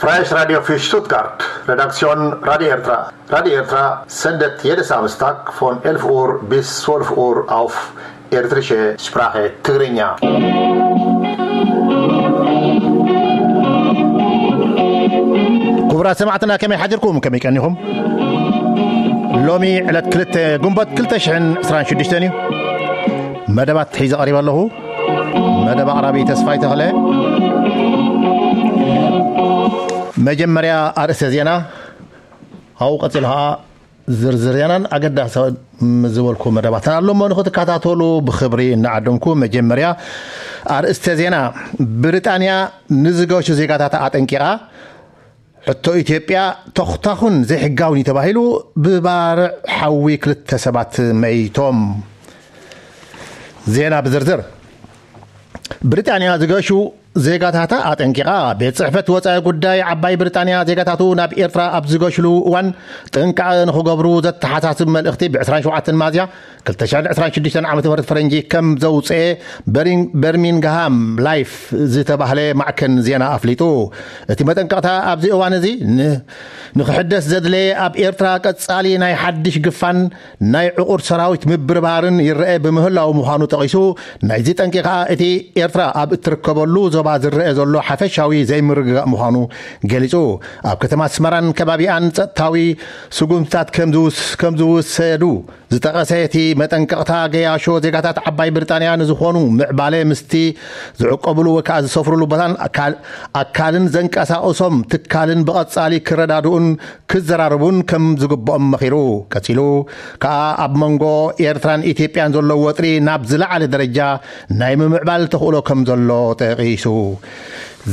Freies Radio für Stuttgart, Redaktion Radio Ertra. Radio Ertra sendet jede Samstag von elf Uhr bis zwölf Uhr auf Ertrische Sprache Tigrinya. ክቡራት ሰማዕትና፣ ከመይ ሓዲርኩም? ከመይ ቀኒኹም? ሎሚ ዕለት ክልተ ግንቦት ክልተ ሽሕን ዕስራን ሽዱሽተን እዩ። መደባት ሒዘ ቀሪበ ኣለኹ። መደብ ኣቕራቢ ተስፋይ ተኽለ። መጀመርያ ኣርእስተ ዜና፣ ኣብኡ ቀጺሉ ኸኣ ዝርዝር ዜናን ኣገዳሲ ዝበልኩ መደባትን ኣሎ እሞ ንኽትከታተሉ ብኽብሪ እናዓደምኩ፣ መጀመርያ ኣርእስተ ዜና። ብሪጣንያ ንዝገሹ ዜጋታታ ኣጠንቂቓ። ሕቶ ኢትዮጵያ ተኹታኹን ዘይሕጋውን እዩ ተባሂሉ፣ ብባርዕ ሓዊ ክልተ ሰባት መይቶም። ዜና ብዝርዝር። ብሪጣንያ ዝገሹ ዜጋታታ ኣጠንቂቓ። ቤት ጽሕፈት ወጻኢ ጉዳይ ዓባይ ብሪጣንያ ዜጋታቱ ናብ ኤርትራ ኣብ ዝገሽሉ እዋን ጥንቃቐ ንኽገብሩ ዘተሓሳስብ መልእኽቲ ብ ዕስራን ሸውዓተን ሚያዝያ ክልተ ሽሕን ዕስራን ሽዱሽተን ዓመተ ምህረት ፈረንጂ ከም ዘውጽኤ በሪን-፣ በርሚንግሃም ላይፍ ዝተባህለ ማዕከን ዜና ኣፍሊጡ። እቲ መጠንቀቕታ ኣብዚ እዋን እዚ ን-፣ ንኽሕደስ ዘድለየ ኣብ ኤርትራ ቀጻሊ ናይ ሓድሽ ግፋን ናይ ዕቑር ሰራዊት ምብርባርን ይረአ ብምህላው ምዃኑ ጠቒሱ፣ ናይዚ ጠንቂ ከኣ እቲ ኤርትራ ኣብ እትርከበሉ ዞባ ዝረአ ዘሎ ሓፈሻዊ ዘይምርግጋእ ምዃኑ ገሊጹ። ኣብ ከተማ ኣስመራን ከባቢኣን ጸጥታዊ ስጉምትታት ከም ዝውስ-፣ ከም ዝውሰዱ ዝጠቐሰ እቲ መጠንቀቕታ፣ ገያሾ ዜጋታት ዓባይ ብሪጣንያ ንዝኾኑ ምዕባለ ምስቲ ዝዕቆብሉ ወይ ከኣ ዝሰፍሩሉ ቦታን ኣካል-፣ ኣካልን ዘንቀሳቕሶም ትካልን ብቐጻሊ ክረዳድኡን ክዘራረቡን ከም ዝግብኦም መኺሩ። ቀጺሉ ከኣ ኣብ መንጎ ኤርትራን ኢትዮጵያን ዘሎ ወጥሪ ናብ ዝለዓለ ደረጃ ናይ ምምዕባል ተኽእሎ ከም ዘሎ ጠቒሱ።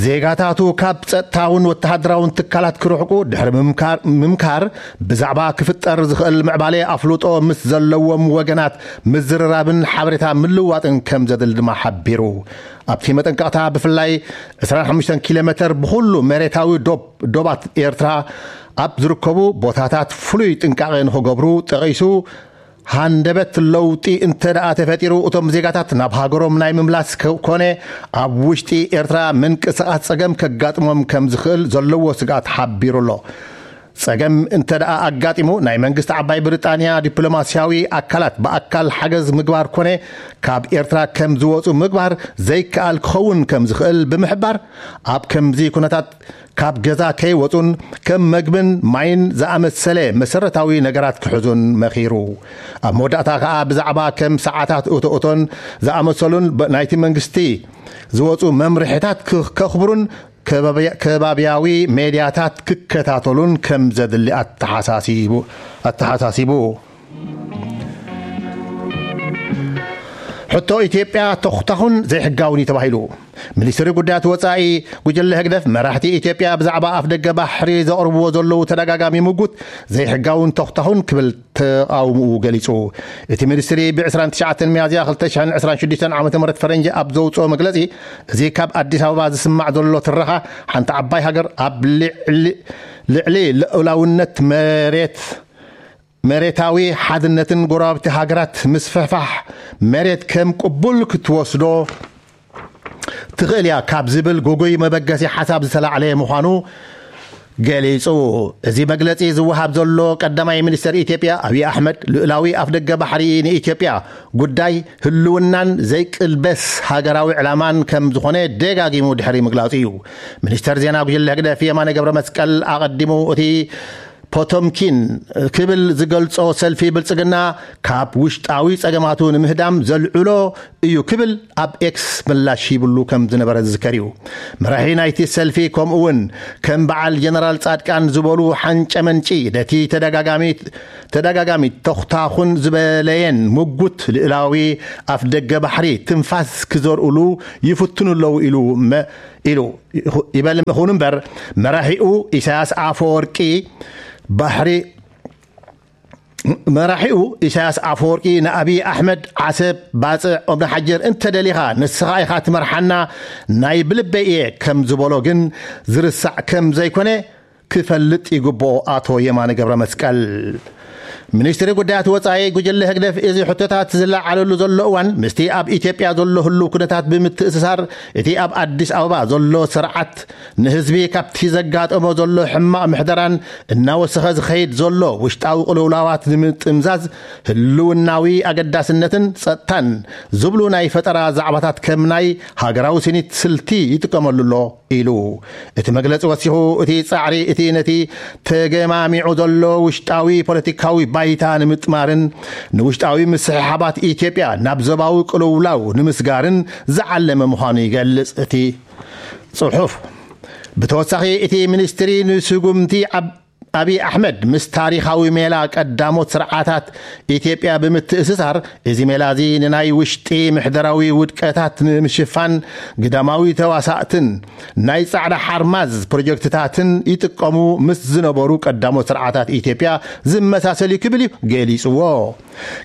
ዜጋታቱ ካብ ጸጥታውን ወተሃደራውን ትካላት ክርሕቁ ድሕሪ ምምካር፣ ምምካር ብዛዕባ ክፍጠር ዝኽእል ምዕባለ ኣፍልጦ ምስ ዘለዎም ወገናት ምዝርራብን ሓበሬታ ምልዋጥን ከም ዘድሊ ድማ ሓቢሩ። ኣብቲ መጠንቀቕታ ብፍላይ ዕስራን ሓሙሽተን ኪሎ ሜተር ብኹሉ መሬታዊ ዶብ-፣ ዶባት ኤርትራ ኣብ ዝርከቡ ቦታታት ፍሉይ ጥንቃቐ ንኽገብሩ ጠቒሱ፣ ሃንደበት ለውጢ እንተ ደኣ ተፈጢሩ፣ እቶም ዜጋታት ናብ ሃገሮም ናይ ምምላስ ከ-፣ ኮነ ኣብ ውሽጢ ኤርትራ ምንቅስቓስ ጸገም ከጋጥሞም ከም ዝኽእል ዘለዎ ስግኣት ሓቢሩ ኣሎ። ጸገም እንተ ደኣ ኣጋጢሙ፣ ናይ መንግስቲ ዓባይ ብሪጣንያ ዲፕሎማስያዊ ኣካላት ብኣካል ሓገዝ ምግባር ኮነ ካብ ኤርትራ ከም ዝወጹ ምግባር ዘይከኣል ክኸውን ከም ዝኽእል ብምሕባር፣ ኣብ ከምዚ ኩነታት ካብ ገዛ ከይወጹን ከም መግብን ማይን ዝኣመሰለ መሰረታዊ ነገራት ክሕዙን መኺሩ። ኣብ መወዳእታ ከኣ ብዛዕባ ከም ሰዓታት እቶእቶን ዝኣመሰሉን ብ-፣ ናይቲ መንግስቲ ዝወጹ መምርሒታት ክኸኽብሩን ከባብያ-፣ ከባብያዊ ሜድያታት ክከታተሉን ከም ዘድሊ ኣተሓሳሲቡ፣ ኣተሓሳሲቡ። ሕቶ ኢትዮጵያ ተኹታኹን ዘይሕጋውን እዩ ተባሂሉ። ሚኒስትሪ ጉዳያት ወጻኢ ጉጅለ ህግደፍ፣ መራሕቲ ኢትዮጵያ ብዛዕባ ኣፍደገ ባሕሪ ዘቕርብዎ ዘለዉ ተደጋጋሚ ምጉት ዘይሕጋውን ተኹታኹን ክብል ተቓውምኡ ገሊጹ። እቲ ሚኒስትሪ ብ ዕስራን ትሽዓተን ሚያዝያ ክልተ ሽሕን ዕስራን ሽዱሽተን ዓመተ ምህረት ፈረንጂ ኣብ ዘውጽኦ መግለጺ፣ እዚ ካብ ኣዲስ ኣበባ ዝስማዕ ዘሎ ትረኻ፣ ሓንቲ ዓባይ ሃገር ኣብ ልዕሊ፣ ልዕሊ ልዑላውነት መሬት፣ መሬታዊ ሓድነትን ጎረባብቲ ሃገራት ምስፍሕፋሕ መሬት ከም ቅቡል ክትወስዶ ትኽእል እያ ካብ ዝብል ግጉይ መበገሲ ሓሳብ ዝተላዕለ ምዃኑ ገሊጹ። እዚ መግለጺ ዝወሃብ ዘሎ ቀዳማይ ሚኒስተር ኢትዮጵያ ኣብይ ኣሕመድ፣ ልኡላዊ ኣፍደገ ባሕሪ ንኢትዮጵያ ጉዳይ ህልውናን ዘይቅልበስ ሃገራዊ ዕላማን ከም ዝኾነ ደጋጊሙ ድሕሪ ምግላጹ እዩ። ሚኒስተር ዜና ጉጅለ ህግደፍ የማነ ገብረ መስቀል ኣቐዲሙ፣ እቲ ፖቶምኪን ክብል ዝገልጾ ሰልፊ ብልጽግና ካብ ውሽጣዊ ጸገማቱ ንምህዳም ዘልዕሎ እዩ ክብል ኣብ ኤክስ ምላሽ ሂብሉ ከም ዝነበረ ዝዝከር እዩ። መራሒ ናይቲ ሰልፊ፣ ከምኡ እውን ከም በዓል ጀነራል ጻድቃን ዝበሉ ሓንጨመንጪ ነቲ ተደጋጋሚ፣ ተደጋጋሚ ተኹታኹን ዝበለየን ምጉት ልእላዊ ኣፍደገ ባሕሪ ትንፋስ ክዘርእሉ ይፍትኑ ኣለዉ ኢሉ መ-፣ ኢሉ ይኹ-፣ ይበል። ይኹን እምበር መራሒኡ ኢሳያስ ኣፈወርቂ ባሕሪ፣ መራሒኡ ኢሳያስ ኣፈወርቂ ንኣብይ ኣሕመድ ዓሰብ፣ ባጽዕ፣ ኦምና ሓጀር እንተደሊኻ ንስኻ ኢኻ ትመርሓና፣ ናይ ብልበይ እየ ከም ዝበሎ ግን ዝርሳዕ ከም ዘይኮነ ክፈልጥ ይግብኦ። ኣቶ የማነ ገብረ መስቀል። ሚኒስትሪ ጉዳያት ወጻኢ ጉጅለ ህግደፍ እዚ ሕቶታት ዝለዓለሉ ዘሎ እዋን ምስቲ ኣብ ኢትዮጵያ ዘሎ ህልው ኩነታት ብምትእስሳር፣ እቲ ኣብ ኣዲስ ኣበባ ዘሎ ስርዓት ንህዝቢ ካብቲ ዘጋጠሞ ዘሎ ሕማቕ ምሕደራን እናወሰኸ ዝኸይድ ዘሎ ውሽጣዊ ቅልውላዋት ንምጥምዛዝ ህልውናዊ ኣገዳስነትን ጸጥታን ዝብሉ ናይ ፈጠራ ዛዕባታት ከም ናይ ሃገራዊ ስኒት ስልቲ ይጥቀመሉ ኣሎ ኢሉ። እቲ መግለጺ ወሲኹ፣ እቲ ጻዕሪ እቲ ነቲ ተገማሚዑ ዘሎ ውሽጣዊ ፖለቲካዊ ባይታ ንምጥማርን ንውሽጣዊ ምስሕሓባት ኢትዮጵያ ናብ ዞባዊ ቅልውላው ንምስጋርን ዝዓለመ ምዃኑ ይገልጽ። እቲ ጽሑፍ ብተወሳኺ፣ እቲ ሚኒስትሪ ንስጉምቲ ኣብ ኣብይ ኣሕመድ ምስ ታሪኻዊ ሜላ ቀዳሞት ስርዓታት ኢትዮጵያ ብምትእስሳር፣ እዚ ሜላ እዚ ንናይ ውሽጢ ምሕደራዊ ውድቀታት ንምሽፋን ግዳማዊ ተዋሳእትን ናይ ጻዕዳ ሓርማዝ ፕሮጀክትታትን ይጥቀሙ ምስ ዝነበሩ ቀዳሞት ስርዓታት ኢትዮጵያ ዝመሳሰል እዩ ክብል እዩ ገሊጽዎ።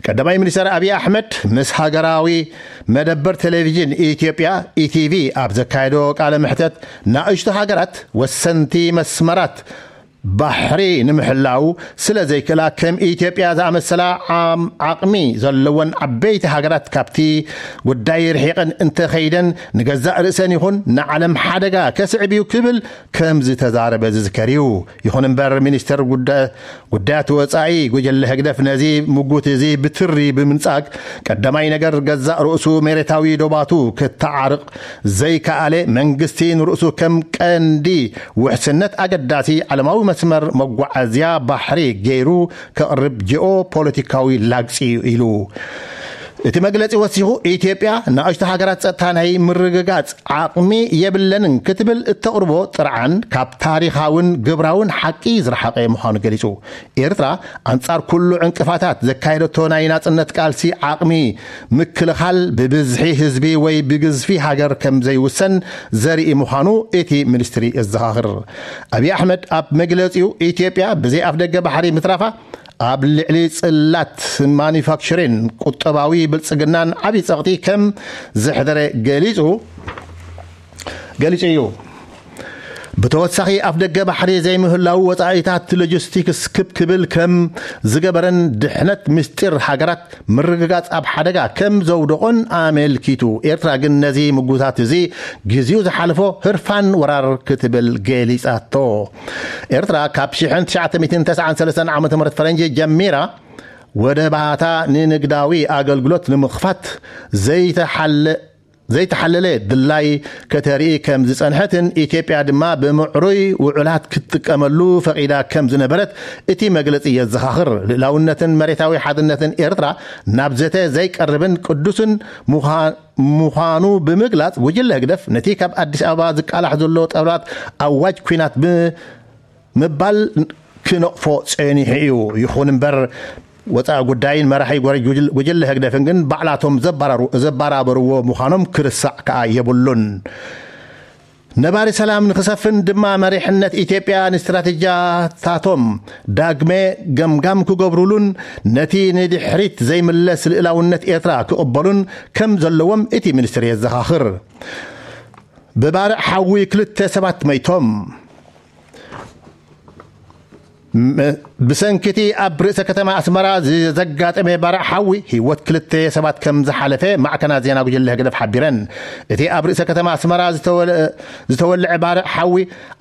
ቀዳማይ ሚኒስትር ኣብይ ኣሕመድ ምስ ሃገራዊ መደበር ቴሌቪዥን ኢትዮጵያ፣ ኢቲቪ፣ ኣብ ዘካየዶ ቃለ መሕተት፣ ናእሽቱ ሃገራት ወሰንቲ መስመራት ባሕሪ ንምሕላው ስለ ዘይክእላ፣ ከም ኢትዮጵያ ዝኣመሰላ ዓም-፣ ዓቕሚ ዘለወን ዓበይቲ ሃገራት ካብቲ ጉዳይ ርሒቐን እንተኸይደን፣ ንገዛእ ርእሰን ይኹን ንዓለም ሓደጋ ከስዕብ እዩ ክብል ከም ዝተዛረበ ዝዝከር እዩ። ይኹን እምበር፣ ሚኒስትር ጉዳ-፣ ጉዳያት ወጻኢ ጉጅለ ህግደፍ ነዚ ምጉት እዚ ብትሪ ብምንጻግ፣ ቀዳማይ ነገር ገዛእ ርእሱ መሬታዊ ዶባቱ ክተዓርቕ ዘይከኣለ፣ መንግስቲ ንርእሱ ከም ቀንዲ ውሕስነት ኣገዳሲ ዓለማዊ መስመር መጓዓዝያ ባሕሪ ገይሩ ከቕርብ ጂኦ ፖለቲካዊ ላግጺ እዩ ኢሉ። እቲ መግለጺ ወሲኹ፣ ኢትዮጵያ ንኣሽቱ ሃገራት ጸጥታ ናይ ምርግጋጽ ዓቕሚ የብለንን ክትብል እተቕርቦ ጥርዓን ካብ ታሪኻውን ግብራውን ሓቂ ዝረሓቐ ምዃኑ ገሊጹ። ኤርትራ ኣንጻር ኩሉ ዕንቅፋታት ዘካየደቶ ናይ ናጽነት ቃልሲ ዓቕሚ ምክልኻል ብብዝሒ ህዝቢ ወይ ብግዝፊ ሃገር ከም ዘይውሰን ዘርኢ ምዃኑ እቲ ሚኒስትሪ የዘኻኽር። ኣብይ ኣሕመድ ኣብ መግለጺኡ፣ ኢትዮጵያ ብዘይ ኣፍደገ ባሕሪ ምትራፋ ኣብ ልዕሊ ጽላት ማኒፋክቸሪን ቁጠባዊ ብልጽግናን ዓቢ ጸቕጢ ከም ዘሕደረ ገሊጹ ገሊጹ እዩ። ብተወሳኺ፣ ኣፍደገ ባሕሪ ዘይምህላው ወጻኢታት ሎጂስቲክስ ክብ ክብል ከም ዝገበረን ድሕነት ምስጢር ሃገራት ምርግጋጽ ኣብ ሓደጋ ከም ዘውደቖን ኣመልኪቱ። ኤርትራ ግን ነዚ ምጉታት እዚ ግዜኡ ዝሓለፎ ህርፋን ወራር ክትብል ገሊጻቶ። ኤርትራ ካብ ሽሕን ትሽዓተ ሚእትን ተስዓን ሰለስተን ዓመተ ምህረት ፈረንጂ ጀሚራ ወደባታ ንንግዳዊ ኣገልግሎት ንምኽፋት ዘይተሓለ ዘይተሓለለ ድላይ ከተርኢ ከም ዝጸንሐትን፣ ኢትዮጵያ ድማ ብምዕሩይ ውዕላት ክትጥቀመሉ ፈቒዳ ከም ዝነበረት እቲ መግለጺ የዘኻኽር። ልእላውነትን መሬታዊ ሓድነትን ኤርትራ ናብ ዘተ ዘይቀርብን ቅዱስን ምዃ-፣ ምዃኑ ብምግላጽ፣ ጉጅለ ህግደፍ ነቲ ካብ ኣዲስ ኣበባ ዝቃላሕ ዘሎ ጠብላት ኣዋጅ ኲናት ብ-፣ ምባል ክነቕፎ ጸኒሑ እዩ። ይኹን እምበር፣ ወጻኢ ጉዳይን መራሒ ጎረ-፣ ጉጅል-፣ ጉጅለ ህግደፍን ግን ባዕላቶም ዘባራሩ-፣ ዘባራበርዎ ምዃኖም ክርሳዕ ከኣ የብሉን። ነባሪ ሰላም ንኽሰፍን ድማ መሪሕነት ኢትዮጵያ ንስትራቴጂያታቶም ዳግመ ገምጋም ክገብሩሉን ነቲ ንድሕሪት ዘይምለስ ልእላውነት ኤርትራ ክቕበሉን ከም ዘለዎም እቲ ሚኒስትሪ የዘኻኽር። ብባርዕ ሓዊ ክልተ ሰባት መይቶም። ም-፣ ብሰንኪ እቲ ኣብ ርእሰ ከተማ ኣስመራ ዘጋጠመ ባርዕ ሓዊ ህይወት ክልተ ሰባት ከም ዝሓለፈ ማዕከናት ዜና ጉጅለ ህግደፍ ሓቢረን። እቲ ኣብ ርእሰ ከተማ ኣስመራ ዝተወለ-፣ ዝተወልዐ ባርዕ ሓዊ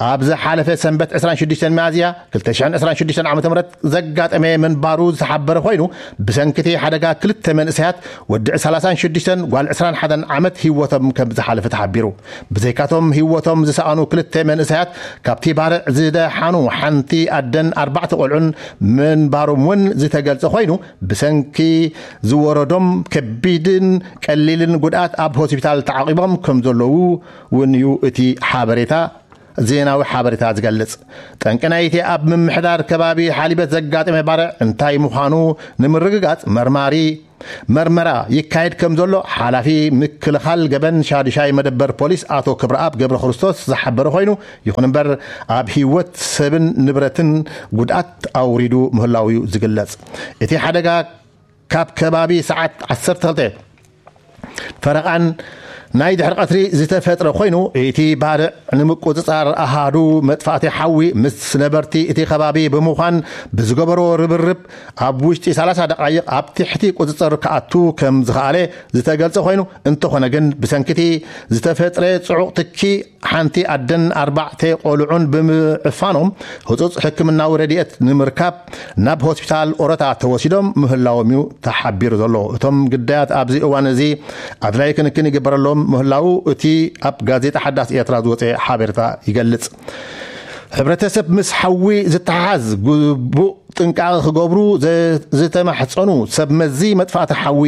ኣብ ዝሓለፈ ሰንበት ዕስራን ሽዱሽተን ሚያዝያ ክልተ ሽሕን ዕስራን ሽዱሽተን ዓመተ ምህረት ዘጋጠመ ምንባሩ ዝተሓበረ ኮይኑ፣ ብሰንኪ እቲ ሓደጋ ክልተ መንእሰያት፣ ወዲ ሰላሳን ሽዱሽተን ጓል ዕስራን ሓደን ዓመት ህይወቶም ከም ዝሓለፈ ተሓቢሩ። ብዘይካቶም ህይወቶም ዝሰኣኑ ክልተ መንእሰያት፣ ካብቲ ባርዕ ዝደሓኑ ሓንቲ ኣደን ኣርባዕተ ቆልዑን ምንባሮም እውን ዝተገልጸ ኮይኑ፣ ብሰንኪ ዝወረዶም ከቢድን ቀሊልን ጉድኣት ኣብ ሆስፒታል ተዓቂቦም ከም ዘለዉ እውን እዩ እቲ ሓበሬታ፣ ዜናዊ ሓበሬታ ዝገልጽ። ጠንቂ ናይቲ ኣብ ምምሕዳር ከባቢ ሓሊበት ዘጋጠመ ባርዕ እንታይ ምዃኑ ንምርግጋጽ መርማሪ መርመራ ይካየድ ከም ዘሎ ሓላፊ ምክልኻል ገበን ሻዱሻይ መደበር ፖሊስ ኣቶ ክብረኣብ ገብረ ክርስቶስ ዝሓበረ ኮይኑ፣ ይኹን እምበር ኣብ ህይወት ሰብን ንብረትን ጉድኣት ኣውሪዱ ምህላው እዩ ዝግለጽ። እቲ ሓደጋ ካብ ከባቢ ሰዓት ዓሰርተ ክልተ ፈረቓን ናይ ድሕሪ ቀትሪ ዝተፈጥረ ኮይኑ፣ እቲ ባርዕ ንምቁጽጻር ኣሃዱ መጥፋእቲ ሓዊ ምስ ነበርቲ እቲ ከባቢ ብምዃን ብዝገበሮ ርብርብ ኣብ ውሽጢ ሰላሳ ደቓይቕ ኣብ ትሕቲ ቁጽጽር ክኣቱ ከም ዝኸኣለ ዝተገልጸ ኮይኑ፣ እንተኾነ ግን ብሰንኪቲ ዝተፈጥረ ጽዑቕ ትኪ ሓንቲ ኣደን ኣርባዕተ ቆልዑን ብምዕፋኖም ህጹጽ ሕክምናዊ ረድኤት ንምርካብ ናብ ሆስፒታል ኦረታ ተወሲዶም ምህላዎም እዩ ተሓቢሩ ዘሎ። እቶም ግዳያት ኣብዚ እዋን እዚ ኣድላይ ክንክን ይግበረሎም ምህላዉ እቲ ኣብ ጋዜጣ ሓዳስ ኤርትራ ዝወፀ ሓበሬታ ይገልጽ። ሕብረተሰብ ምስ ሓዊ ዝተሓዝ ግቡእ ጥንቃቐ ክገብሩ ዘ- ዝተማሕጸኑ ሰብ መዚ መጥፋእቲ ሓዊ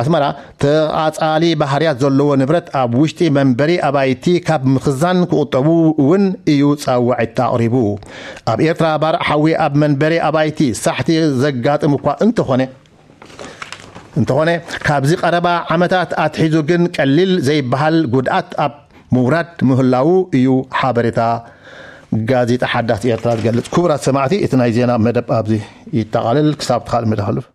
ኣስመራ፣ ተቓጻሊ ባህርያት ዘለዎ ንብረት ኣብ ውሽጢ መንበሪ ኣባይቲ ካብ ምኽዛን ክቑጠቡ እውን እዩ ጻውዒት ኣቕሪቡ። ኣብ ኤርትራ ባርዕ ሓዊ ኣብ መንበሪ ኣባይቲ ሳሕቲ ዘጋጥም እኳ እንተኾነ እንተኾነ ካብዚ ቀረባ ዓመታት ኣትሒዙ ግን ቀሊል ዘይበሃል ጉድኣት ኣብ ምውራድ ምህላዉ እዩ ሓበሬታ ጋዜጣ ሓዳስ ኤርትራ ዝገልጽ። ክቡራት ሰማዕቲ፣ እቲ ናይ ዜና መደብ ኣብዚ ይጠቓልል። ክሳብ ካልእ መደብ